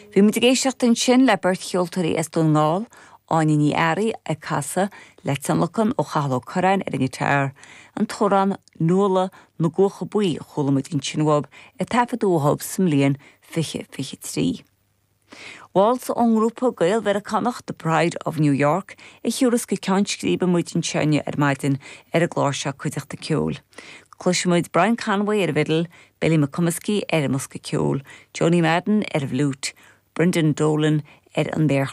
Bhí muid ag éisteacht ansin le beirt cheoltóirí as Dún na nGall, Áine Ní Fhearraigh ag casadh le tionlacan ó Chathal Ó Curráin ar an ngiotár, an t-amhrán Nuala na gCuacha Buí a chuala muid ansin uathub a taifeadadh uathub sa mbliain 2023. Waltz ón ngrúpa Gael-Mheiriceánach The Pride of New York a thiúrfas go ceann scríbe muid anseo inniu ar maidin ar an gclár seo Cuideachta Ceoil. Cloisfidh muid Brian Conway ar an bhfidil, Billy McComiskey ar an mbosca ceoil, Joanie Madden ar an bhfliúit, Brendan Dolan ar an méarchlár.